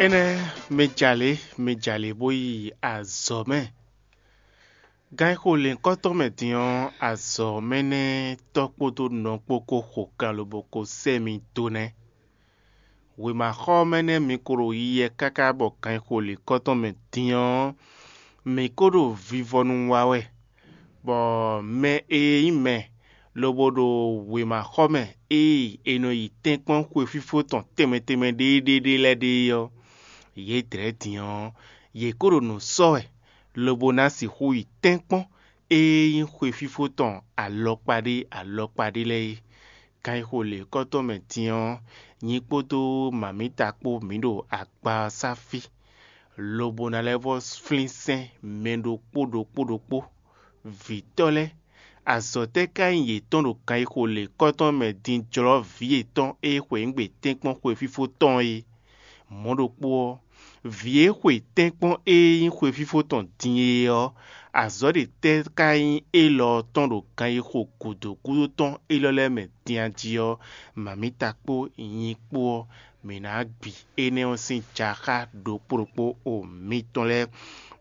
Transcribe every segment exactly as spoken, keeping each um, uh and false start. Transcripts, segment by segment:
Énɛ́, mi jalě, mi jalě bó yi azɔ̌ mɛ. Gan e xo lěhunkɔtɔn mɛ din ɔ́, azɔ̌ mɛ nɛ́ tɔ́ kpódó nɔ kpó ko xo kan lobo ko sɛ́ mi dó nɛ́. Wěmaxɔ mɛ nɛ́ mi ko ɖo yiyi káká bɔ gan e xo lěhunkɔtɔn mɛ din ɔ́, mǐ ko ɖo vivɔnu wa wɛ, bɔ mɛ e nyí mɛ lobo ɖo wěmaxɔ mɛ ée è nɔ yi tɛ́nkpɔ́n xwefífó tɔn tɛnmɛ tɛnmɛ ɖéeɖée ɖé lɛ́ɛ ɖe é ɔ́, yě dlɛ̌ din ɔ́, yě ko ɖo nǔ sɔ́ wɛ, lobo ná sixú yi tɛ́nkpɔ́n ée nyí xwefífó tɔn alɔkpa ɖé alɔkpa ɖé lɛ́ɛ é. Kan e xo lě kɔ́tɔn mɛ din ɔ́, nyi kpódó mǎmíta kpó mǐ ɖo akpa ɔ́ sá fí, lobo ná lɛ́ vɔ́ flín sɛ́n mɛ ɖokpó ɖokpó ɖokpó. Vǐtɔ́ lɛ́ɛ, azɔ̌ tɛ́ ka nyí yětɔn ɖo kan e xo lě kɔ́tɔn mɛ din jlɔ́ vǐ yětɔn e xweyǐgbe tɛ́nkpɔ́n xwefífó tɔn é? Mɔ̌ ɖokpó ɔ́, vǐ e xwe tɛ́nkpɔ́n e nyí xwefífó tɔn din é ɔ́, azɔ̌ ɖě tɛ́ ka nyí élɔ́ ɔ́ tɔn ɖo gan e xo gǔdo gúdo tɔn élɔ́ lɛ́ɛ mɛ din a jí ɔ́, mǎmíta kpó nyi kpó ɔ́, mǐ ná gbi énɛ́ ɔ́ sín jaxá ɖokpó ɖokpó o mitɔn lɛ́ɛ,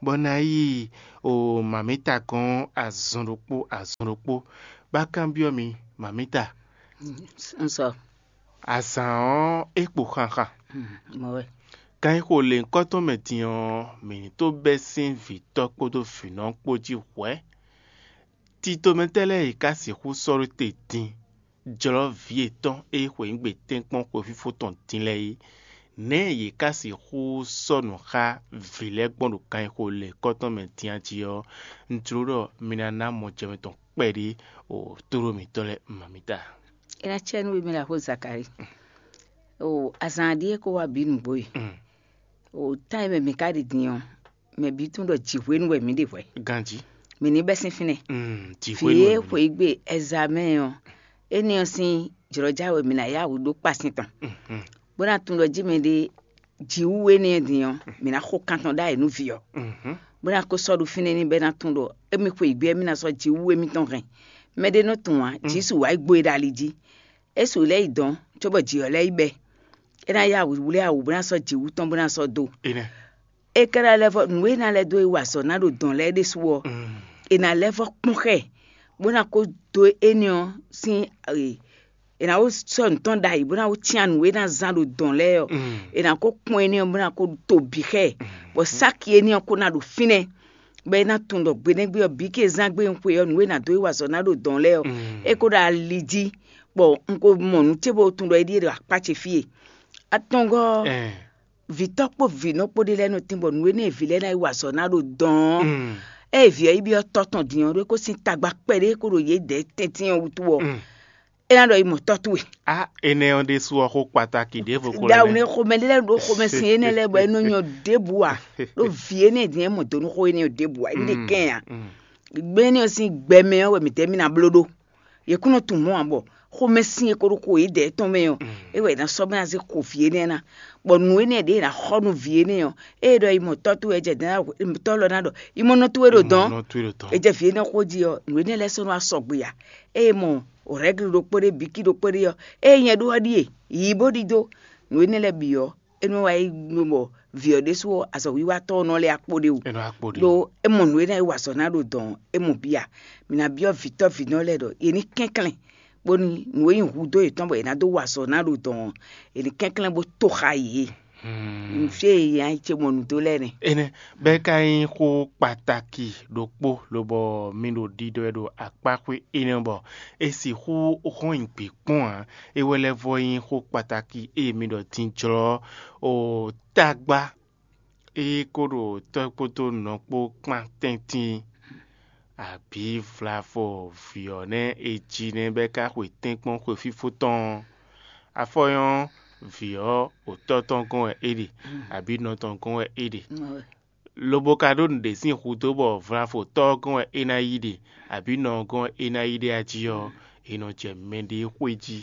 bɔ ná yi o mǎmíta gɔ́n azɔn ɖokpó azɔn ɖokpó. Bá kanbyɔ́ mi, mǎmíta. Un sɔ. Azǎn ɔ́, é kpo xanxan. Mɔ wɛ. Kan e xo lěhunkɔtɔn mɛ din ɔ́, mǐ ní tó bɛ́ sín vǐtɔ́ kpódó vǐnɔ kpó jí hwɛ̌. Titomɛtɛ́ lɛ́ɛ e ka sixú sɔ́ ɖó te din, jlɔ́ vǐ yětɔn e xweyǐgbe tɛ́nkpɔ́n xwefífó tɔn din lɛ́ɛ é, nɛ̌ yě ka sixú sɔ́ nǔ xá vǐ lɛ́ɛ gbɔn ɖo kan e xo lěhunkɔtɔn mɛ din a jí ɔ́, un jló ɖɔ mi ná ná mɔjɛmɛ tɔn kpɛɖé o tóɖó mǐtɔn lɛ́ɛ mǎmíta. É ná cɛ nú we mɛ ɖaxó Zakalíi. O azǎn ɖíe kó wá bǐ nǔgbó e. O tán e mɛ mǐ ka ɖi din ɔ́, mɛ bǐ tunwun ɖɔ jǐ hwenu wɛ mǐ ɖe hwɛ̌. Ganjí. Mǐ ní bɛ́ sín fínɛ́. Mm, jǐ Vǐ hwenu e wɛ mǐ ɖe. Xweyǐgbe ɛzamɛ́ɛ ɔ́, énɛ́ ɔ́ sín jlɔ̌já wɛ mǐ ná yá wǔ ɖó kpasin tɔn. Mhm. Bó ná tunwun ɖɔ jí mɛɖé jǐ wú énɛ́ ɔ́ din ɔ́, mǐ ná xo kan tɔn ɖ'ayǐ nú vǐ ɔ́. Mhm. Bó ná ko sɔ́ ɖo fínɛ́ n'i bɔ é ná tunwun ɖɔ émí xweyǐgbe ɔ́, émí ná sɔ́ jǐ wú émítɔn hɛn. Mɛɖé nɔ tunwun ǎ, jǐ su wǎ yi gbo e ɖo ali jí. É su lɛ́ yi dɔ̌n, cóbɔ jǐ ɔ́ lɛ́ yi bɛ́. É ná yá wǔ wlé awǔ bó ná sɔ́ jǐ wú tɔn bó ná sɔ́ dó. Énɛ́. É ka ná lɛ́ vɔ́ nǔ e ná lɛ́ dó e wa azɔ̌ ná ɖo dɔ̌n lɛ́ɛ ɖésú ɔ́, Mm. è nǎ lɛ́ vɔ́ kpɔ́n xɛ, bó ná kó dó énɛ́ ɔ́ sín e, è nǎ ko sɔ́ nǔ tɔn ɖ'ayǐ bó ná ko cyán nǔ e ná zán ɖo dɔ̌n lɛ́ɛ ɔ́, Mm. è nǎ ko kpɔ́n énɛ́ ɔ́ bó ná ko to bǐ xɛ, bɔ sáki énɛ́ ɔ́ ko ná ɖo fínɛ́, bɔ é ná tunwun ɖɔ gbeɖégbé ɔ́ bǐ ke zán gbé un xwe ɔ́, nǔ e è nǎ dó e wa azɔ̌ ná ɖo dɔ̌n lɛ́ɛ ɔ́, Mm. é ko ɖo ali jí, bɔ un ko mɔ nǔ ce bó tunwun ɖɔ é ɖíe ɖo akpá ce fí e. Atɔngɔ́ ɔ́, Ɛn. Vǐtɔ́ kpó vǐnɔ kpó ɖé lɛ́ɛ nɔ tín bɔ nǔ énɛ́ e vǐ lɛ́ɛ ná yi wa azɔ̌ ná ɖo dɔn ɔ́, Mm. ée vǐ ɔ́ yi byɔ́ tɔ́ tɔn din ɔ́, ɖó é kó sín tagba kpɛɖé é kó ɖo yě dɛ̌ tɛ́ntin ɔ́ wútu ɔ́, Mm. é ná ɖɔ yi mɔ tɔ́ towe. Á, énɛ́ ɔ́ ɖésú ɔ́, xó kpataki ɖěvo ko Ɖawu lɛ́ nɛ́ xomɛ ɖé lɛ́ɛ ɖó xomɛ sin énɛ́ lɛ́ɛ bɔ é nɔ nyɔ ɖěbǔ ǎ, ɖó vǐ énɛ́ din é mɔ dǒ nú xó énɛ́ ɖěbǔ ǎ, é ɖe kɛn ǎ. Gbɛ́ énɛ́ ɔ́ sín gbɛ mɛ ɔ́ wɛ mǐtɛ́ mì ná bló ɖó. Yě kún nɔ tunwun mɔ̌ ǎ bɔ xomɛ sin e ko ɖo xo yědɛɛ tɔn mɛ ɔ́, é wɛ è nǎ sɔ́ bó ná zé xo vǐ énɛ́ ná, bɔ nǔ énɛ́ ɖě è nǎ xɔ nú vǐ énɛ́ ɔ́, ée ɖɔ yi mɔ tɔ́ towe wɛ jɛ dɛ̌n tɔ́ lɔ ná ɖɔ yi mɔ nɔ towe ɖo dɔ̌n, Nɔ towe ɖo tɔn. È jɛ vǐ énɛ́ xó jí ɔ́, nǔ énɛ́ lɛ́ɛ sɔ́ nɔ wá sɔgbe ǎ. Ée mɔ rɛ̌gli ɖokpó ɖé, bǐkí ɖokpó ɖé ɔ́, ée nyɛ ɖó ɔ́ ɖíe, yǐ bó ɖidó. Nǔ énɛ́ lɛ́ɛ bǐ ɔ́, é nɔ wá yi nú bɔ vǐ ɔ́ ɖésú ɔ́, azɔ̌wiwa tɔn ɔ́ nɔ lɛ́ akpo ɖé wú. É nɔ akpo ɖe. Ɖó é mɔ nǔ e ná yi wa azɔ̌ ná ɖo dɔ̌n ɔ́, é mɔ bia. Mǐ ná byɔ́ vǐtɔ́ vǐnɔ lɛ́ɛ ɖɔ yě ní kɛnklɛ́n, bónú nǔ e nyí hudó yětɔn bɔ yě ná dó wa azɔ̌ ná ɖo dɔ̌n ɔ́, yě ní kɛnklɛ́n bó to xá yě. Hmm. Fí e yě ná yi ce mɔ nǔ dó lɛ́ɛ nɛ́. Énɛ́ bɛ́ ka nyí xó kpataki ɖokpó lobɔ mi ɖo ɖiɖɔ wɛ ɖo akpáxwé énɛ́ bɔ è sixú hɔn nyi gbě kpɔ́n ǎ. É wɛ lɛ́ vɔ nyí xó kpataki e mi ɖɔ din jlɔ́ o tagba e ko ɖo tɔ́ kpódó nɔ kpó kpán tɛ́ntin, abǐ vlavo vǐ ɔ́ nɛ́ è ji nɛ́ bɛ́ ka xwe tɛ́nkpɔ́n xwefífó tɔn ɔ́, afɔ nyɔ́ vǐ ɔ́, òtɔ́ tɔn gɔ́n wɛ é ɖe, abǐ nɔ tɔn gɔ́n wɛ é ɖe. Lobo ka ɖó nǔɖé sín hudó bɔ vlavo tɔ́ ɔ́ gɔ́n wɛ é ná yi ɖe, abǐ nɔ ɔ́ gɔ́n wɛ é ná yi ɖe a jí ɔ́, è nɔ jɛ mɛɖée xwé jí,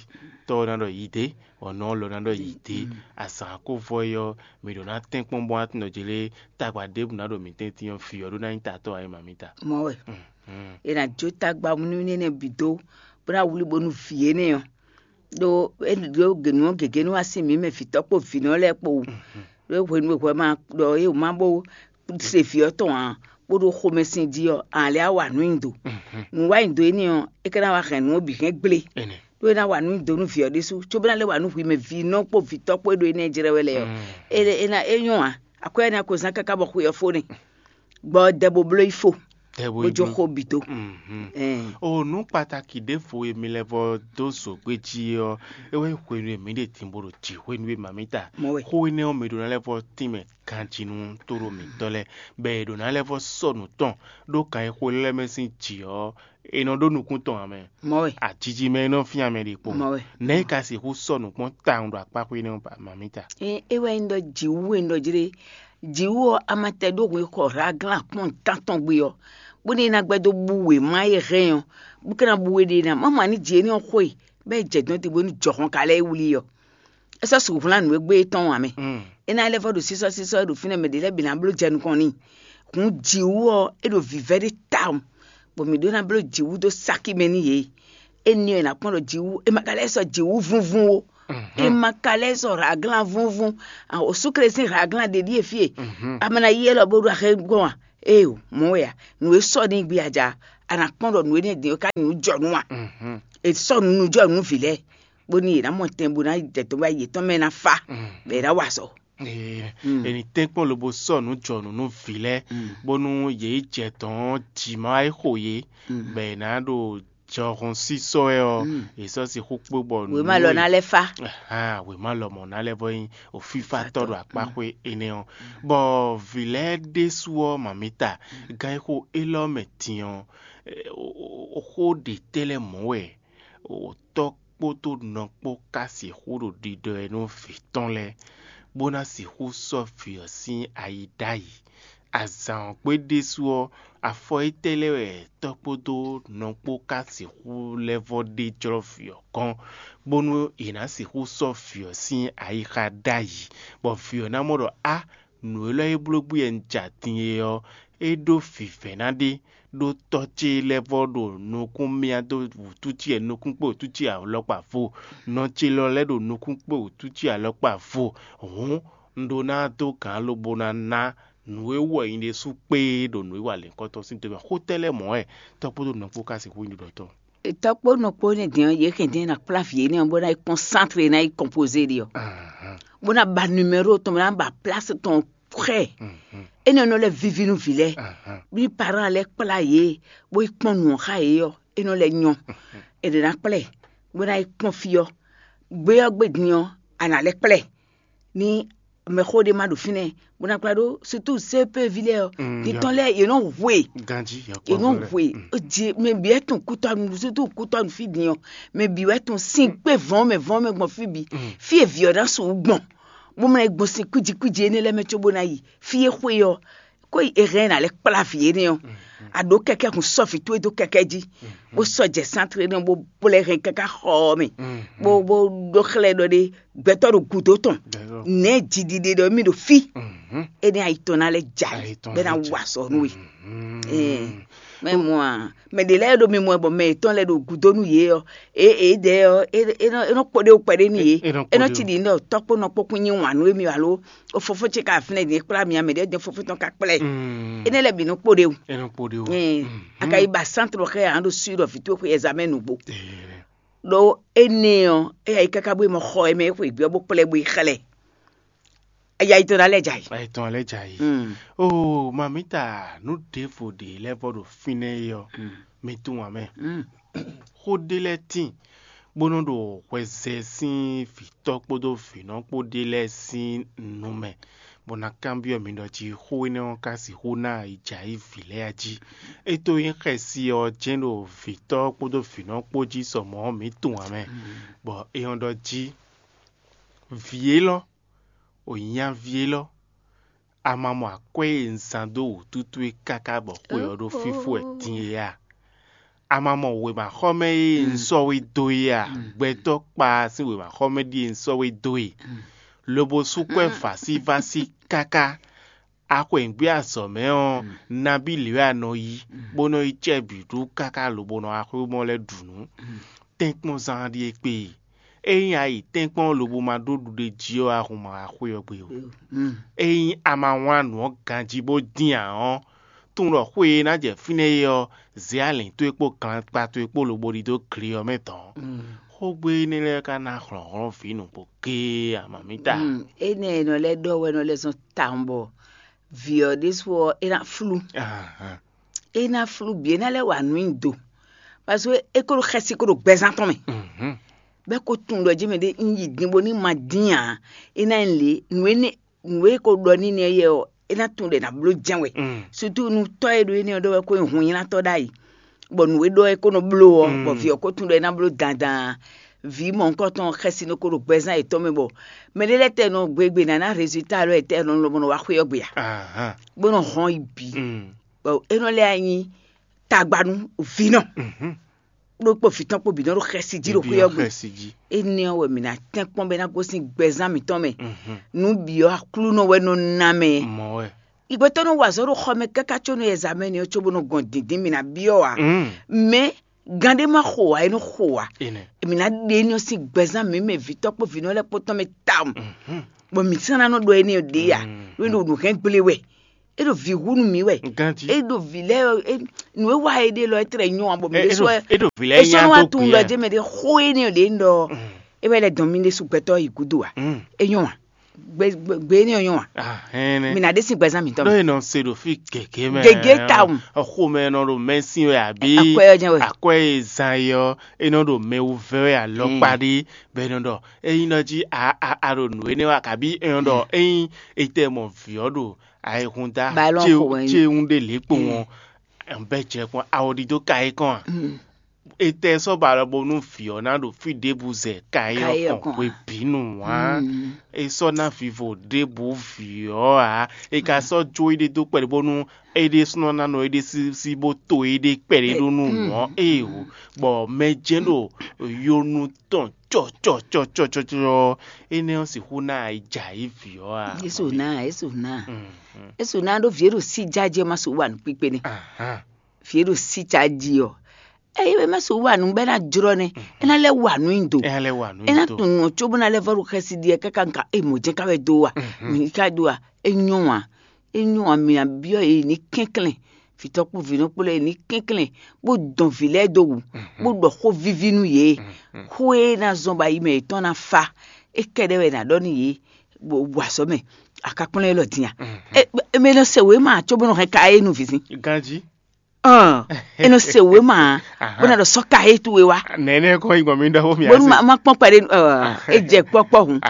tɔ́ ɔ́ ná ɖɔ yi dě, bɔ nɔ ɔ́ lɔ ná ɖɔ yi dě. Azǎn ko vɔ é ɔ́, mǐ ɖǒ ná tɛ́nkpɔ́n bɔ atúnɔ ce lé tagba ɖěbǔ ná ɖo mǐtɛn tín ɔ́, vǐ ɔ́ ɖó ná nyí tatɔ́ ǎ é ma mǐ ta. Mɔ wɛ. È nǎ jó tagba nú énɛ́ bǐ dó, bó ná wlí bónú vǐ énɛ́ ɔ́ ɖó é ɖó gěnú ɔ́ gěgé nú wá sín mǐ mɛ vǐtɔ́ kpó vǐnɔ lɛ́ɛ kpó wú. Ɖó hwenu e hwɛ ma ɖɔ é wǒ ma bó se vǐ ɔ́ tɔn ǎ, bó ɖo xomɛsin jí ɔ́, a lɛ́ á wa nǔ nyi do. Nǔ wa nyi do énɛ́ ɔ́, é ka ná wá hɛn nǔ ɔ́ bǐ hɛn gblé. Ɖó é ná wa nǔ nyi do nú vǐ ɔ́ ɖésú, cóbó ná lɛ́ wa nǔ hwi mɛ vǐ nɔ kpó vǐ tɔ́ kpó e ɖo énɛ́ jlɛ́ wɛ lɛ́ɛ ɔ́. É é ná é nyɔ́ ǎ. Akwɛ́ ɔ́ ná ko zán káká bɔ xwe ɔ́ fó n'i. Gbɔ dɛ bo bló yi fo, bó jó xó bǐ dó. Ɛn, O nǔ kpataki ɖěvo e mi lɛ́ vɔ dó zǒgbé jí ɔ́, é wɛ nyí hwenu e mǐ ɖe din bó ɖo jǐ hwenu e mǎmíta. Mɔ̌ wɛ. Xó énɛ́ ɔ́, mǐ ɖó ná lɛ́ vɔ tínmɛ ganjí nú tóɖó mǐtɔn lɛ́ɛ, bɔ è ɖǒ ná lɛ́ vɔ sɔ́ nǔ tɔn ɖó kan e xo lɛ́ mɛ sín jǐ ɔ́, è nɔ ɖó nukún tɔn ǎ mɛ. Mɔ̌ wɛ. Ajiji mɛ e nɔ fín amɛ ɖe kpo. Mɔ̌ wɛ. Nɛ̌ è ka sixú sɔ́ nǔ kpɔ́n tawun ɖo akpáxwé énɛ́ ɔ́ mǎmíta? Ɛ é wɛ nyí ɖɔ jǐwú e un ɖɔ jlé. Jǐwú ɔ́, a ma tɛ ɖó hwǐ xɔ Hlaglan kpɔ́n tántɔn gbe ɔ́, bónú é ná gbɛ́ dó bú wěma e hɛn ɔ́, bó ka ná bú we ɖe ná má mɔ ani jǐ énɛ́ ɔ́ xo e, bɔ é jɛ dɔ̌n din bónú jɔhɔn ka lɛ́ wlí ɔ́. É sɔ́ sixú hwlán nǔ e gbé é tɔn ǎ mɛ. É ná lɛ́ vɔ ɖo sísɔ́ sísɔ́ e ɖo fínɛ́ mɛ ɖě lɛ́ɛ bǐ ná bló jɛ nukɔn n'i. Hǔn jǐwú ɔ́, é ɖo vǐvɛ́ ɖé tawun, bɔ mǐ ɖó ná bló jǐwú dó sáki mɛ n'i yě. Énɛ́ ɔ́, è nǎ kpɔ́n ɖɔ jǐwú, è ma ka lɛ́ sɔ́ jǐwú vúnvún ó. È ma ka lɛ́ sɔ́ hlaglán vúnvún. Osúkle sín hlaglán ɖě ɖíe fí e. A ma ná yí élɔ́ bó ɖo axé gbɔn a? Éeǒ, mɔ̌ wɛ a? Nǔ e sɔ́ n'i gbé a ja, a nǎ kpɔ́n ɖɔ nǔ énɛ́ din ɔ́ ka nyí nǔ jɔ nú a? È sɔ́ nǔ nú jɔ nú vǐ lɛ́ɛ, bónú yě ná mɔ tɛn bó ná yi dɛ̌tɔ́ wá yětɔn mɛ ná fá, bɔ è ná wa azɔ̌. Ee, è nǐ tɛ́nkpɔ́n lobo sɔ́ nǔ jɔ nǔ nú vǐ lɛ́ɛ, bónú yě yi jɛ dɔ̌n ɔ́, jǐ ma wá yi xo yě, bɔ è nǎ ɖo jɔhɔn sísɔ́ wɛ ɔ́, è sɔ́ sixú kpé bɔ Wěma lɔ ná lɛ́ fá. Ahan, wěma lɔmɔ̌ ná lɛ́ vɔ nyí òfífátɔ́ ɖo akpáxwé énɛ́ ɔ́. Bɔ vǐ lɛ́ɛ ɖésú ɔ́, mǎmíta, gán e xo élɔ́ mɛ din ɔ́, xó ɖě tɛ́ lɛ́ɛ mɔ̌ wɛ tɔ́ kpódó nɔ kpó ka sixú ɖo ɖiɖɔ ɛ nú vǐ tɔn lɛ́ɛ, bó ná sixú sɔ́ vǐ ɔ́ sín ayi ɖ'ayǐ. Azǎn ɔ́ gbe ɖésú ɔ́, afɔ étɛ́ lɛ́ɛ wɛ tɔ́ kpódó nɔ kpó ka sixú lɛ́ vɔ ɖe jlɔ́ vǐ ɔ́ gɔ́n, bónú è nǎ sixú sɔ́ vǐ ɔ́ sín ayixa ɖ'ayǐ, bɔ vǐ ɔ́ ná mɔ ɖɔ á, nǔ élɔ́ e bló gbé wɛ un ja din é ɔ́, é ɖó vǐvɛ́ná ɖé, ɖó tɔ́ ce lɛ́ɛ vɔ ɖo nukún myá dó wǔtú ce nukún kpé wǔtú ce alɔkpa vo, nɔ ce lɔ lɛ́ ɖo nukún kpé wǔtú ce alɔkpa vo. Hǔn un ɖó ná dó gǎn lobo ná ná nǔ e wɔ nyi ɖésú kpé ɖo nǔ e wa lɛ̌nkɔ́tɔn sín do mɛ. Xó tɛ́ lɛ́ɛ mɔ̌ wɛ tɔ́ kpódó nɔ kpó ka sixú nyí ɖiɖɔtɔ́? Tɔ́ kpó nɔ kpó nɛ́ din ɔ́, yě hɛn din ná kplá vǐ énɛ́ ɔ́ bó ná yi kpɔ́n sántre ná yi kɔnpozé ɖi ɔ́, bó ná ba numɛ́ro tɔn, bó ná ba plási tɔn xɛ. Énɛ́ ɔ́ nɔ lɛ́ víví nú vǐ lɛ́ɛ, bí parán lɛ́ɛ kplá yě, bó yi kpɔ́n nǔ ɔ́ xá yě ɔ́, é nɔ lɛ́ nyɔ́. È ɖě ná kplá ɛ, bó ná yi kpɔ́n fí ɔ́, gbé ɔ́ gbé din ɔ́, a nǎ lɛ́ kplá ɛ. Ní mɛxó ɖé ma ɖo fínɛ́, bó ná kplá ɖó sutu C P ví lɛ́ɛ ɔ́, titɔn lɛ́ɛ yě nɔ hwe. Ganjí yě nɔ hwe. Jí mɛ bǐ wɛ tún kútɔ́nu, sutu kútɔ́nu fí din ɔ́, mɛ bǐ wɛ tún sín kpé vɔ̌n mɛ vɔ̌n mɛ gbɔn fí bǐ. Fí e vǐ ɔ́ ná su gbɔn, bó mlá gbɔn sín kwíji kwíji énɛ́ lɛ́ɛ mɛ cóbó ná yi fí e xwe ɔ́, kó yi è hɛn ná lɛ́ kplá vǐ énɛ́ ɔ́, a ɖǒ kɛkɛ́ hun sɔ́ vǐ towe dó kɛkɛ́ jí, bó sɔ́ jɛ sántre énɛ́ bó bó lɛ́ hɛn káká xɔ ɔ́ mɛ, bó bó ɖó xlɛ́ ɖɔ ɖé gbɛtɔ́ ɖo gǔdo tɔn, nɛ̌ jiɖiɖe ɖɔ mì ɖo fí, énɛ́ ayi tɔn ná lɛ́ jɛ ali bɛ ná wa sɔ nú we. Mɛ mɔ a, mɛ ɖě lɛ́ɛ ɖo mi mɔ bɔ mɛ yětɔn lɛ́ɛ ɖo gǔdo nú yě ɔ́, é é dɛ ɔ́, é é nɔ é nɔ kpɔɖé kpɛɖé nú yě, é nɔ ci ɖi nɔ tɔ́ kpó nɔ kpó kún nyi wǎn nú émi alo o fofó ce ka fínɛ́ din é kplá mi amɛ ɖé din fofó tɔn ka kplá ɛ. Énɛ́ lɛ́ɛ bǐ nɔ kpɔɖé o. É nɔ kpɔɖé o. Ɛɛ, a ka yi ba sántrɔ xɛ a ɖo sui ɖɔ vǐ towe xwe ɛzamɛ nǔgbó. Ɖó énɛ́ ɔ́, é yi káká bó yi mɔ xɔ e mɛ é xwe gbé ɔ́ bó kplá ɛ bó yi xlɛ́. Aya yi tɔn ná lɛ́ jɛ ayǐ. Ayitɔn lɛ́ jɛ ayǐ. Oo, mamita, nǔ ɖěvo ɖě lɛ́ vɔ ɖo fínɛ́ é ɔ́, mi tunwun ǎ mɛ. Xó ɖé lɛ́ɛ tíin, bó nɔ́ ɖo hwɛzɛ sín vǐtɔ́ kpódó vǐnɔ kpó ɖé lɛ́ɛ sín nu mɛ, bó ná kanbyɔ́ mi ɖɔ jí xó énɛ́ ɔ́ ka sixú ná yi jɛ ayǐ vǐ lɛ́ɛ a jí. É tó nyí xɛsi ɔ́ jɛ́n ɖo vǐtɔ́ kpódó vǐnɔ kpó jí sɔ mɔ̌ ɔ́, mǐ tunwun ǎ mɛ. Bɔ é ɔ́ ɖɔ jí, vǐ élɔ́, o nyaví élɔ́, a ma mɔ akwɛ́ e un zán dó wǔtútú é káká bɔ xwe ɔ́ ɖó fífó wɛ din é a? A ma mɔ wěmaxɔmɛ e un sɔ́ we dó é a? Gbɛtɔ́ kpa sín wěmaxɔmɛ ɖíe un sɔ́ we dó e, lobo sú kwɛ́ vǎsívásí káká. A xweyǐgbe azɔ̌ mɛ ɔ́, nabí lě wɛ a nɔ yí, bó nɔ yi cɛ́ bǐ ɖú káká lobo nɔ wá xwé mɔ lɛ́ ɖu nǔ? Tɛ́nkpɔ́nzán ɖíe kpé e. Ényí a yi tɛ́nkpɔ́n lobo ma ɖó ɖuɖéjí ɔ́, a hun ma wá xwé ɔ́ gbe ó. Ényí a ma wlán nǔ ɔ́ ganjí bó dín ǎ ɔ́, tunwun ɖɔ xwé e ná jɛ fínɛ́ é ɔ́, zě alǐn towe kpó glankpa towe kpó lobo ɖidó gle ɔ́ mɛ dɔ̌n. Xógbé énɛ́ lɛ́ɛ ka ná hlɔ̌nhlɔ́n vǐ nǔgbó géé amamíta. Énɛ́ e nɔ lɛ́ ɖɔ wɛ nɔ lɛ́ zɔn tawun bɔ vǐ ɔ́ ɖésú ɔ́ é ná flú. É ná flú bǐ, é ná lɛ́ wa nǔ nyi do. Parce que é ko ɖo xɛsi ko ɖo gbɛzán tɔn mɛ. Bɛ́ ko tunwun ɖɔ jɛ́n mɛ ɖé un yi din bónú ma dín ǎ. É ná nyí lě, nǔ énɛ́ nǔ e ko ɖɔ n'i nɛ́ yɛ ɔ́, é ná tunwun ɖɔ è nǎ bló jɛ́n wɛ. Sutu nú tɔ́ e ɖo énɛ́ ɔ́ ɖɔ wɛ ko nyí hunnyílátɔ́ ɖ'ayǐ, bɔ nǔ e ɖɔ é ko nɔ bló ɔ́, bɔ vǐ ɔ́ ko tunwun ɖɔ é ná bló dandan. Vǐ mɔ̌hunkɔtɔn xɛsi nɔ ko ɖo gbɛzán yětɔn mɛ bɔ mɛɖé lɛ́ɛ tɛ nɔ gbe gbe ná ná rezulta lɔ e tɛ nɔ lɔmɔ nɔ wá xwé ɔ́ gbe ǎ, bó nɔ hɔn yi bǐ. Bɔ é nɔ lɛ́ nyi tagba nú vǐ nɔ. Ɖó kpó vǐ tɔn kpó bǐ nɔ ɖo xɛsi jí ɖo xwé ɔ́ gbe. Énɛ́ ɔ́ wɛ mǐ ná tɛ́nkpɔ́n bɔ é ná gosín gbɛzán mǐtɔn mɛ. Nǔ bǐ ɔ́ Aklúnɔ wɛ nɔ ná mɛ. Ìgbɛtɔ́ nɔ wa azɔ̌ ɖo xɔ mɛ káká có nɔ yɛ zǎmɛ ni ɔ́ cóbó nɔ gɔn dǐndín mǐ ná byɔ́ ǎ. Mɛ gán ɖé má xo ǎ, é nɔ xo ǎ. Mǐ ná ɖe énɛ́ ɔ́ sín gbɛzán mǐ mɛ vǐtɔ́ kpó vǐnɔ lɛ́ɛ kpó tɔn mɛ tawun, bɔ mǐ sán ná nɔ ɖɔ énɛ́ ɔ́ ɖě ǎ. Ɖó é ɖo nǔ hɛn gble wɛ, é ɖo vǐ hu nú mǐ wɛ. É ɖo vǐ lɛ́ɛ nǔ e wa é ɖe lɔ é tlɛ nyɔ́ ǎ, bɔ mǐ ɖésú wɛ é ɖo vǐ lɛ́ɛ é sɔ́ nya nɔ wá dó tunwun gbe ɖɔ ǎ. Jɛ́n mɛ ɖé xó énɛ́ ɔ́ ɖě un ɖɔ é wɛ lɛ́ dɔn mì ɖésú gbɛtɔ́ yi gúdo ǎ. É nyɔ́ ǎ. Gbe gbe gbe énɛ́ ɔ́ nyɔ́ ǎ. Mǐ ná ɖe sín gbɛzán mǐtɔn. Ɖó è nɔ se ɖo fí gěgé mɛ. Gěgé tawun. Xomɛ e nɔ ɖo mɛsín wɛ àbí akwɛ́ ɔ́ jɛ́n wɛ. Akwɛ́ e zan é ɔ́, é nɔ ɖo mɛ wú vɛ́ wɛ alɔkpa ɖé, bɔ è nɔ ɖɔ ényí nɔ jí a a a ɖo nǔ énɛ́ wa, kabí è nɔ ɖɔ ényí è tɛ mɔ vǐ ɔ́ ɖo ayihúndá Balɔn xo wɛ. Céwún ɖé lě kpowun ɔ́, bɛ́ jɛ kpɔ́n awɔɖídó ka é kɔn a? Etɛ sɔ́ ba lɔ bónú vǐ ɔ́ ná ɖo fí ɖěbǔ zɛ ka é ɔ́ kɔn hwebǐnu ǎ. É sɔ́ ná vivo ɖěbǔ vǐ ɔ́ ǎ. É ka sɔ́ jó éɖée dó kpɛɖé bónú é ɖésúnɔ ná nɔ éɖée sísí bó to éɖée kpɛɖé ɖó nú nǔ ɔ́ éeǒ, bɔ mɛ jɛ́n ɖo yonu tɔn cɔcɔcɔcɔcɔ. Énɛ́ ɔ́ sixú ná yi jɛ ayǐ vǐ ɔ́ a? Yésu ná, Yésu ná. Yésu ná ɖó vǐ e ɖo sí jájí ɔ́ má sixú wa nǔ kpíkpé nɛ́. Vǐ e ɖo sí jájí ɔ́, eye é má sixú wa nǔ bɔ é ná jlɔ́ nɛ́. É ná lɛ́ wa nǔ nyi do. É ná lɛ́ wa nǔ nyi do. É ná tunwun ɔ́ cóbó ná lɛ́ vɔ́ ɖo xɛsi ɖi ɛ káká ŋka é mɔ̌ jɛ́n ká wɛ dó wa. Mǐ ká dó wa. É nyɔ́ ǎ. É nyɔ́ ǎ, mǐ ná byɔ́ yě ní kɛnklɛ́n. Vǐtɔ́ kpó vǐnɔ kpó lɛ́ɛ ní kɛnklɛ́n, bó dɔn vǐ lɛ́ɛ dó wǔ, bó ɖɔ xó víví nú yě. Xó e ná zɔn bɔ ayi mɛ yětɔn ná fá, é kɛ́ɖɛ́ wɛ è nǎ ɖɔ nú yě, bó wa azɔ̌ mɛ, a ka kplɔ́n élɔ́ din a? Mɛ nɔ se wěma cóbó nɔ hɛn ka é nu vǐzin. Ganjí. Ɔn, é nɔ se wěma, bó ná ɖɔ sɔ́ ka é towe wá. Nɛ̌nɛ́ kɔn yi gbɔn mi ɖɔ fó mi bónú ma ma kpɔ́n kpɛɖé é jɛ kpɔ́kpɔ́ hǔn.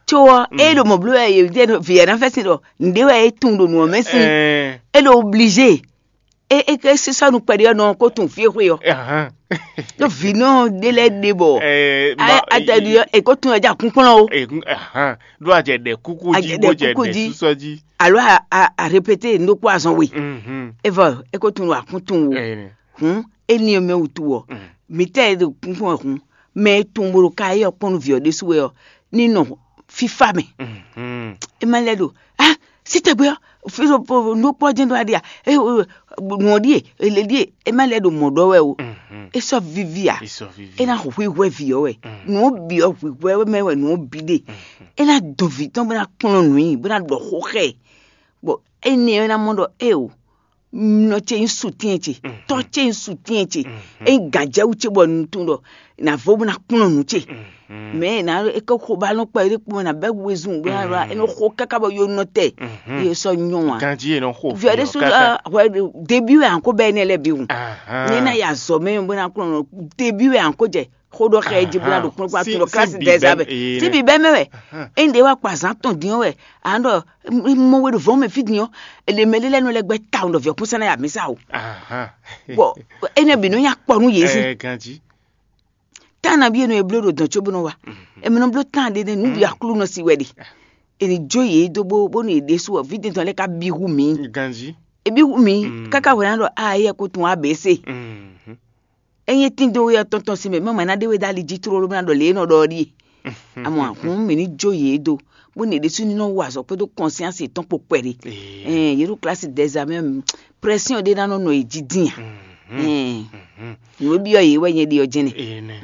Tso ɔ́, é ɖo mɔ̌ bló wɛ yě vǐ ɛ ná fɛ́sin ɖɔ nǔɖé wɛ é tunwun ɖo nǔ ɔ́ mɛ sín. É ɖo oblizé. É é é sísɔ́ nú kpɛɖé ɔ́ nɔ kó tunwun fí e xwe ɔ́. Ɖó vǐnɔ ɖé lɛ́ɛ ɖe bɔ atɛɖi ɔ́ è kó tunwun ɛ jɛ akúnkplɔ́n o. Ɖó a jɛ ɖɛ kúkú jí bó jɛ ɖɛ sísɔ jí. Alo a a a répété nú kpó azɔn we. É vɔ é kó tunwun akún tunwun o. Hǔn éní ɔ́ mɛ wútu ɔ́, mǐ tɛ́ e ɖo kúnkún wɛ hǔn, mɛ e tunwun bó ɖo ka éyɛ́ ɔ́ kpɔ́n nú vǐ ɔ́ ɖésú wɛ ɔ́, ní nɔ fífá mɛ. É má lɛ́ ɖo á sí tɛgbɛ ɔ́, fí ɖo nú kpɔ́ jɛ́n ɖó aɖi a? Nǔ ɔ́ ɖíe, èlé ɖíe, é má lɛ́ ɖo mɔ̌ ɖɔ wɛ o. É sɔ́ víví a? É ná hwíhwɛ́ vǐ ɔ́ wɛ. Nǔ ɔ́ bǐ ɔ́ hwíhwɛ́ mɛ wɛ nǔ ɔ́ bǐ ɖe. É ná dɔn vǐ tɔn bó ná kplɔ́n nǔ nyi, bó ná ɖɔ xó xá ɛ. Bɔ énɛ́ ɔ́ é ná mɔ ɖɔ éeǒ, nɔ ce nyí sutɛ́n ce, tɔ́ ce nyí sutɛ́n ce, é nyí gǎnjɛwú ce bɔ un tunwun ɖɔ nǎ vo bó ná kplɔ́n nǔ ce. Mɛ ná é ké xo ba nɔ kpɛ é kpɔ́n ná bɛ́ wezun bó ná ɖɔ é nɔ xo káká bɔ yó nɔ tɛ. Yé sɔ nyɔ wá. Ganjí è nɔ xo Viɔ ɖé sú hwɛ débí wɛ ànkó bɛ énɛ́ lɛ bí hùn. Ní ná ya zɔ mɛ bó ná kplɔ́n nɔ débí wɛ ànkó jɛ xó ɖɔ xɛ jí bó ná ɖo kplɔ́n kplɔ́n atún ɖɔ kílási dɛ zá bɛ. Tí bí bɛ mɛ wɛ é ń ɖe wá kpa zán tɔn dín wɛ à ń ɖɔ mɔ we ɖo vɔ̌ mɛ fí din ɔ́, èlè mɛ lé lɛ́ɛ nɔ lɛ́ gbɛ́ tawun ɖɔ vǐ ɔ́ kún sɛ́ ná ya mǐ sa o. Bɔ énɛ́ bǐ nɔ nya kpɔ nú yě sín. Tá nabí e nɔ e bló ɖo dɔ̌n có bó nɔ wa. Èmi nɔ bló tán ɖé nɛ́ nǔ ɖi Aklúnɔ si wɛ ɖe. È nǐ jó yě dó bó bónú yě ɖésú ɔ́, vǐ dintɔn lɛ́ɛ ka bí hu mǐ. Ganjí. È bí hu mǐ káká hwɛ ná ɖɔ a éyɛ́ kó tun abc. Ényí é tín dó wé ɔ́ tɔn tɔn sín mɛ, mɛ mɛ ná ɖé wé dó ali jí tlóló bó ná ɖɔ lě e nɔ ɖɔ ɔ́ ɖíe. Amɔ hǔn mǐ ní jó yě dó, bónú yě ɖésú ní nɔ wa azɔ̌ kpódó kɔnsiánsi yětɔn kpó kpɛɖé. Ɛn yě ɖo klasi dɛzamɛ, prɛsyɔn ɖé ná nɔ nɔ yě jí dín a. Ɛn, nǔ e byɔ́ yě wɛ nyɛ ɖe ɔ́ jɛ́n nɛ. Enɛ.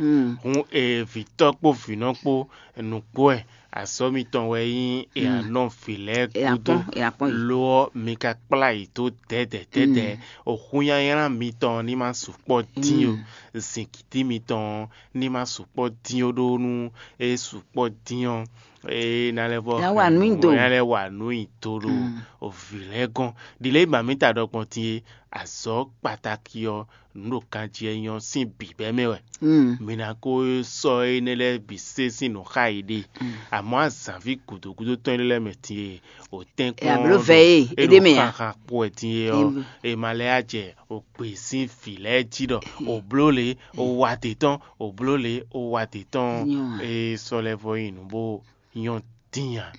Hun e vǐtɔ́ kpó vǐnɔ kpó nǔgbó wɛ azɔ̌ mitɔn wɛ nyí e anɔ vǐ lɛ́ɛ gúdo. Lo ɔ́, mi ka kplá yě dó dɛ̌dɛ̌ dɛ̌dɛ̌. Oxúnyanylá mitɔn ní ma sukpɔ́ dín ó. Zǐngídi mitɔn ní ma sukpɔ́ dín ó, ɖó nú é sukpɔ́ dín ɔ́, é ná lɛ́ vɔ Ná wa nǔ nyi do. Ná lɛ́ wa nǔ nyi do ɖo vǐ lɛ́ɛ gɔ́n. Ɖi lě e mǐ ta ɖɔ gbɔn din é, azɔ̌ kpatáki ɔ́, nǔ ɖo ganjí wɛ nyí ɔ́ sín bǐbɛ́ mɛ wɛ. Mi ná ko sɔ́ énɛ́ lɛ́ɛ bǐ sé sín nǔ xa yěɖée. Amɔ̌ azǎnví gǔdo gúdo tɔn énɛ́ lɛ́ɛ mɛ din e, wǒ tɛ́nkpɔ́n Ɛ, abló vɛ e, é ɖo xaxa kpo wɛ din é ɔ́, è ma lɛ́ yá jɛ ògbě sín vǐ lɛ́ɛ jí ɖɔ ò bló lě, ò wa dě tɔn, ò bló lě, ò wa dě tɔn. É sɔ́ lɛ́ vɔ nyi nǔ bó nyɔ́ dín ǎ.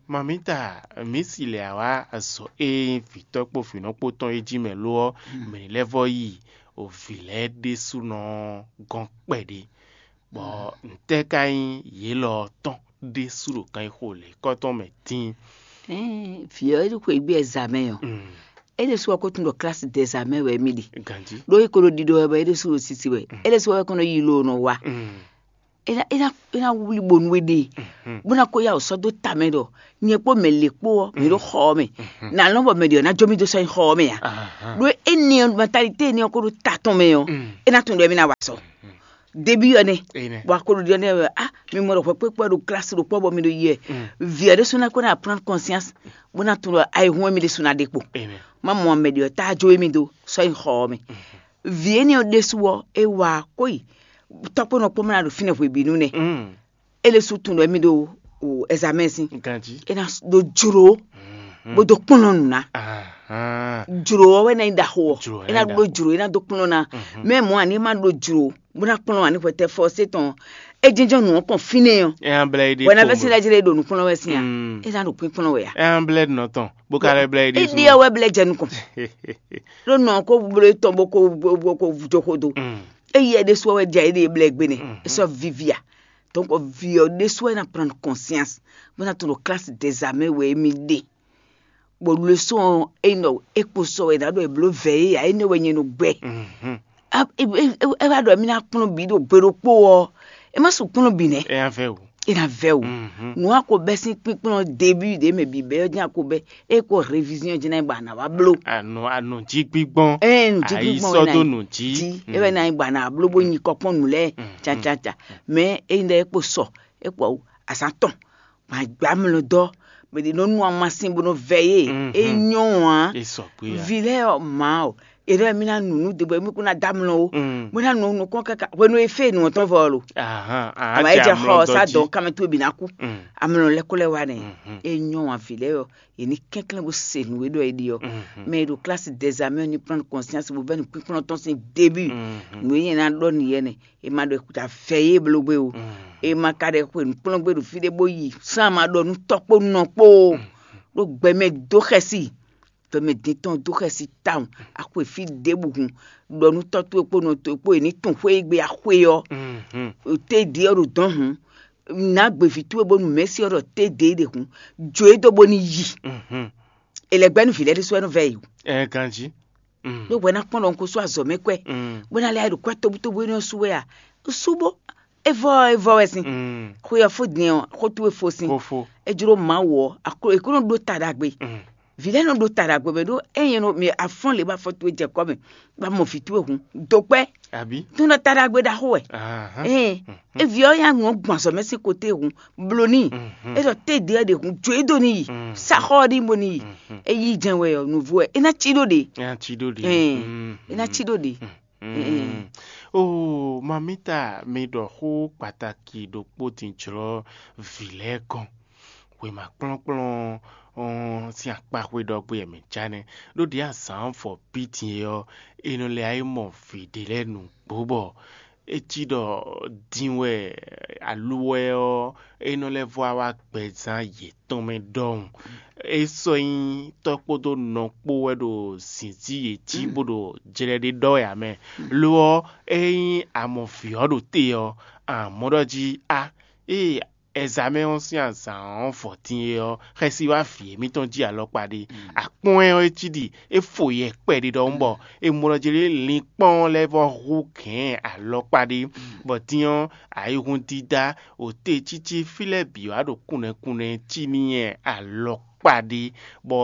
Mamǐta, mǐ si lɛ ǎ wá azɔ̌ e nyí vǐtɔ́ kpó vǐnɔ kpó tɔn é jí mɛ lo ɔ́, mɛ lɛ́ vɔ yi o vǐ lɛ́ɛ ɖésúnɔ gɔ́n kpɛɖé, bɔ ntɛ́ ka nyí yě lɔ ɔ́ tɔn ɖésú ɖo kanxixo lěkɔ́ tɔn mɛ dín? Vǐ ɔ́, é ɖo xweyǐgbe ɛ zǎ mɛ ɔ́, é ɖésú ɔ́ ko tunwun ɖɔ klasi dɛ zǎ mɛ wɛ émí ɖe. Ganjí. Ɖó é ko ɖo ɖiɖɔ wɛ bɔ é ɖésú ɖo sisi wɛ. É ɖésú ɔ́ wɛ ko nɔ yi lo nɔ wa. É ná é ná é ná wlí bonu we ɖe, bó ná ko ya wǒ sɔ́ dó ta mɛ ɖɔ nyɛ kpó mɛ lě kpó ɔ́, mǐ ɖo xɔ ɔ́ mɛ. Nǎ lɔn bɔ mɛ ɖě ɔ́ ná jó mì dó sɔ́ nyi xɔ ɔ́ mɛ ǎ. Ɖó énɛ́ ɔ́, mentalité énɛ́ ɔ́ ko ɖo ta tɔn mɛ ɔ́, é ná tunwun ɖɔ émí ná wa sɔ. Débí ɔ́ nɛ́. Bɔ a ko ɖo ɖiɖɔ nɛ́ wɛ, ah, mi mɔ ɖɔ hwɛ kpékpé ɔ́ ɖo klasi ɖokpó ɔ́ bɔ mi ɖo yi wɛ. Vǐ ɔ́ ɖésú ná ko ná prendre conscience, bó ná tunwun ɖɔ ayihún émí ɖésú ná ɖe kpo. Má mɔ mɛ ɖě ɔ́ tá jó émí dó sɔ́ nyi xɔ ɔ́ mɛ. Vǐ énɛ́ ɔ́ ɖésú ɔ́, é wá kó yi tɔ́kpɔ́nɔ kpɔ́n mɛ ná ɖo fínɛ́ hwebǐnu nɛ́. É lɛ́ sú tunwun ɖɔ émí ɖo ɛzamɛ́ sín. Ganjí. É ná ɖó jló, bó dó kplɔ́n nǔ ná. Jló ɔ́ wɛ ná nyí ɖaxó ɔ́. Jló ɔ́ É ná ná nyí ɖó jló, é ná dó kplɔ́n ná. Mɛ mɔ̌ ǎ ní é má ɖó jló, bó ná kplɔ́n ǎ ní hwɛtɛ́ fɔ sé tɔn. É jínjɔ́n nǔ ɔ́ kɔn fínɛ́ ɔ́. É ná blɛ́ yi ɖe Wɛ̌ ná fɛ́ sín lɛ́ jlé ɖo nǔkplɔ́n wɛ sín a? É ná ɖo kpínkplɔ́n wɛ a? É ná blɛ́ nɔ tɔn, bó ka lɛ́ blɛ́ yi ɖésú. Éɖée ɔ́ wɛ blɛ́ jɛ nukɔn. Ɖó nɔ ɔ́ ko bló tɔn bó ko bó ko jó xó dó. É yɛ ɖésú ɔ́ wɛ jɛ éɖée blɛ́ gbe nɛ́. É sɔ́ víví a? Donc vǐ ɔ́ ɖésú wɛ ná prendre conscience, bó ná tunwun ɖɔ classe des armées wɛ émí ɖe. Bɔ leçon ɔ́, é nɔ é kpo sɔ wɛ ná ɖɔ è blǒ vɛ̌ é ǎ, énɛ́ wɛ nyɛ nɔ gbɛ. É wá ɖɔ émí ná kplɔ́n bǐ ɖo gbe ɖokpó ɔ́, é má su kplɔ́n bǐ nɛ́. É ná vɛ́ wǔ. É ná vɛ́ wǔ. Nǔ a ko bɛ́ sín kpínkplɔ́n débí ɖě mɛ bǐ bɛ́ ɔ́ jɛ́n a ko bɛ́, é ko révision jɛ́n ná nyí bɔ a nǎ wá bló. Anɔ anɔ jí gbígbɔn. Ɛ nǔ jí gbígbɔn wɛ ná sɔ́ dó nǔ jí. Jí é wɛ ná nyí bɔ a nǎ bló bó nyi kɔkpɔ́n nǔ lɛ́ɛ. Cacaca. Mɛ é nyí ɖɔ é kpo sɔ, é kpo azǎn tɔn, gbǎn gbǎ mlɔ dɔ́, mɛ ɖě nɔ nu amasin bó nɔ vɛ yé. É nyɔ́ ǎ. É sɔgbe ǎ. Vi lɛ́ɛ ɔ́, mǎ ɔ́, è ɖɔ mì ná nu nǔ dó bɔ mì kún ná dó amlɔ ó. Bó ná nu nukɔn káká hwenu e fé nǔ ɔ́ tɔn vɔ ɔ́ lo. Ahan, a Àmọ́ é jɛ jɛ xɔ amlɔ ɔ́ sá dɔ jí. Dɔn kámɛ tó bǐ ná kú. Amlɔ lɛ́ kó lɛ́ wá nɛ. É nyɔ́ ǎ, vi lɛ́ɛ ɔ́, è ní kɛnklɛ́n bó se nǔ e ɖɔ è ɖe ɔ́. Mɛ e ɖo klasi dɛzamɛ ɔ́ ní prendre conscience bó vɛ́ nǔkpínkplɔ́n tɔn sín début. Nǔ e nyɛ ná ɖɔ n'i yɛ nɛ, è ma ɖɔ è kúta vɛ yé bló gbé o. È ma ka ɖɛ xwe nǔkplɔ́n gbé ɖo fí ɖé bó yi sán ma ɖɔ nú tɔ́ kpó nɔ kpó o. Ɖó gbɛmɛ dó xɛsi, gbɛmɛ din tɔn dó xɛsi tawun. Axwe fí ɖěbǔ hun ɖɔ nú tɔ́ towe kpó nɔ towe kpó è ní tun xwé e gbé axwe ɔ́. Té ɖi ɔ́ ɖo dɔ̌n hun. Nǎ gbeví towe bónú mɛ̌si ɔ́ ɖɔ té ɖě ɖe hun. Jǒ e dó bónú yi. È lɛ̌ gbɛ́ nú vǐ lɛ́ɛ ɖésú wɛ nɔ vɛ yi o. Ɛ ganjí. Ɖó hwɛ ná kpɔ́n ɖɔ un ko sú azɔ̌ mɛ kwɛ, bó ná lɛ́ ɖo kwɛ́ tobutóbú énɛ́ ɔ́ sú wɛ a? Sú bó, é vɔ é vɔ wɛ sín. Xwe ɔ́ fó din ɔ́, xó towe fó sín. Kó fó. É jló Mawu ɔ́, aklo è kó nɔ ɖó ta ɖagbe. Vǐ lɛ́ɛ nɔ ɖó ta ɖagbe mɛ ɖó ényí nɔ mi afɔ́n lě bɔ afɔ towe jɛ kɔ́ mɛ, bɔ a mɔ vǐ towe hun dó kpɛ́. Àbí? Tó nɔ ta ɖagbe ɖaxó wɛ. Ahán. Ée é vǐ ɔ́ ya nǔ ɔ́ gbɔn azɔ̌ mɛ sín koté hun, bló n'i. É ɖɔ té ɖě ɔ́ ɖe hun jó e dó n'i yi. Sá xɔ ɔ́ ɖi bó n'i yi. É yí jɛ́n wɛ ɔ́, nǔvú wɛ é ná cí ɖó ɖě. É ná cí ɖó ɖě. Ɛn, é ná cí ɖó ɖě. Mm. Oo, mamita, mi ɖɔ xó kpataki ɖokpó din jlɔ́ vǐ lɛ́ɛ gɔ́n. Wěma kplɔ́nkplɔ́n ɔ́ sín akpaxwé ɖɔgbé wɛ mǐ já nɛ́, ɖó ɖě azǎn fɔ bí din é ɔ́, è nɔ lɛ́ wá yi mɔ vǐ ɖé lɛ́ɛ nǔgbó bɔ é cí ɖɔ din wɛ aluwɛ ɔ́, é nɔ lɛ́ vɔ wá gbɛzán yětɔn mɛ ɖɔhun. É sɔ́ nyí tɔ́ kpódó nɔ kpó wɛ ɖo zǐnzí yě jí bó ɖo jlɛ ɖé ɖɔ wɛ ǎ mɛ. Lo ɔ́, ényí a mɔ vǐ ɔ́ ɖo te ɔ́, a mɔ ɖɔ jí a ée Ɛzamɛ ɔ́ sín azǎn ɔ́ vɔ din é ɔ́, xɛsi wá vǐ émítɔn jí alɔkpa ɖé. Akpɔ́n ɛ ɔ́, é cí ɖi é fo yɛ kpɛɖé ɖɔhun bɔ è mɔ ɖɔ jlé linkpɔ́n lɛ́ɛ vɔ hú gɛ̌n alɔkpa ɖé, bɔ din ɔ́, ayihún dídá, òtecící fí lɛ́ɛ bǐ wá ɖo kúnɛkúnɛ cí n'i alɔkpa ɖé, bɔ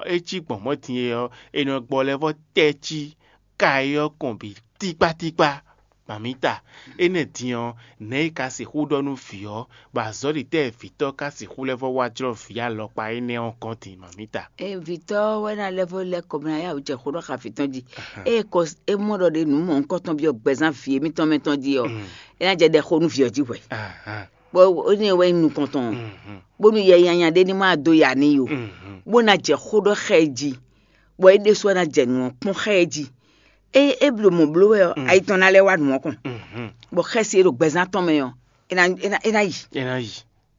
é cí gbɔn mɔ̌ din é ɔ́, è nɔ gbɔ lɛ́ vɔ tɛ́ cí ka é ɔ́ kɔn bǐ tíkpátíkpá. Mamǐta, énɛ́ din ɔ́, nɛ̌ è ka sixú ɖɔ nú vǐ ɔ́, bɔ azɔ̌ɖitɛ́ vǐtɔ́ ka sixú lɛ́ vɔ wá jlɔ́ vǐ alɔkpa énɛ́ ɔ́ gɔ́n din, mamǐta? Ée vǐtɔ́ ɔ́ wɛ ná lɛ́ vɔ lɛ́ kɔ bɔ ná yá wǔ jɛ xó ɖɔ xá vǐ tɔn jí. Ée kɔ é mɔ ɖɔ ɖě nǔ mɔ̌hunkɔtɔn byɔ́ gbɛzán vǐ émítɔn mɛ tɔn jí ɔ́, é ná jɛ ɖɛ xó nú vǐ ɔ́ jí hwɛ̌. Bɔ énɛ́ wɛ nyí nukɔntɔn ɔ́, bónú yɛ nyanya ɖé ní ma dó ya n'i ó, bó ná jɛ xó ɖɔ xá ɛ jí, bɔ é ɖésú wɛ ná jɛ nǔ ɔ́ kpɔ́n xá ɛ jí. É é blǒ mɔ̌ bló wɛ ɔ́, ayi tɔn ná lɛ́ wá nǔ ɔ́ kɔn, bɔ xɛsi e ɖo gbɛzán tɔn mɛ ɔ́, é ná é ná é ná yi. É ná yi.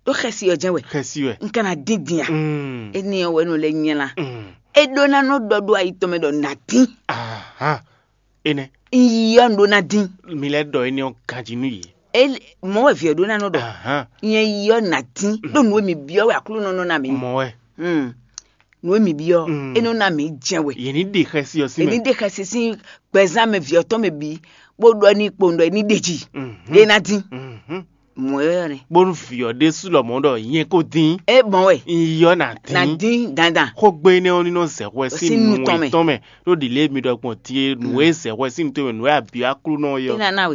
Ɖó xɛsi ɔ́ jɛ́n wɛ. Xɛsi wɛ. Un ka ná dín din a? Mm. Énɛ́ ɔ́ wɛ nɔ lɛ́ nylá. Mm. É ɖó ná nɔ ɖɔ ɖó ayi tɔn mɛ ɖɔ nǎ dín. Ahan. Énɛ́. Un yi ɔ́, un ɖó ná dín. Mi lɛ́ ɖɔ énɛ́ ɔ́ ganjí nú yě. É mɔ̌ wɛ vǐ ɔ́ ɖó ná nɔ ɖɔ. Ahan. Nyɛ yi ɔ́ nǎ dín. Ɖó nǔ e mi byɔ́ wɛ Aklúnɔ nɔ ná mi. Mɔ̌ wɛ. Mm. Nǔ e mi byɔ́, mm, é nɔ ná mi jɛ́n wɛ. Yě ní ɖe xɛsi ɔ́ sín mɛ. Yě ní ɖe xɛsi sín gbɛzán mɛ vǐ ɔ́ tɔn mɛ bǐ, bó ɖɔ ní kpowun ɖɔ é ní ɖe jí. Mhm. Ɖé ná dín. Mhm. Mɔ̌ ɔ́ nɛ́. Bónú vǐ ɔ́ ɖésú lɔmɔ̌ ɖɔ nyɛ ko dín. É mɔ̌ wɛ. Un yi ɔ́ ná dín. Ná dín dandan. Xógbe énɛ́ ɔ́ ní nɔ zɛ hwɛ sín nú tɔn mɛ. Tɔn mɛ. Ɖó ɖi lě mi ɖɔ gbɔn din e nǔ e zɛ hwɛ sín nú tɔn mɛ, nǔ e abǐ Aklúnɔ ɔ́ yɔ. É ná ná we.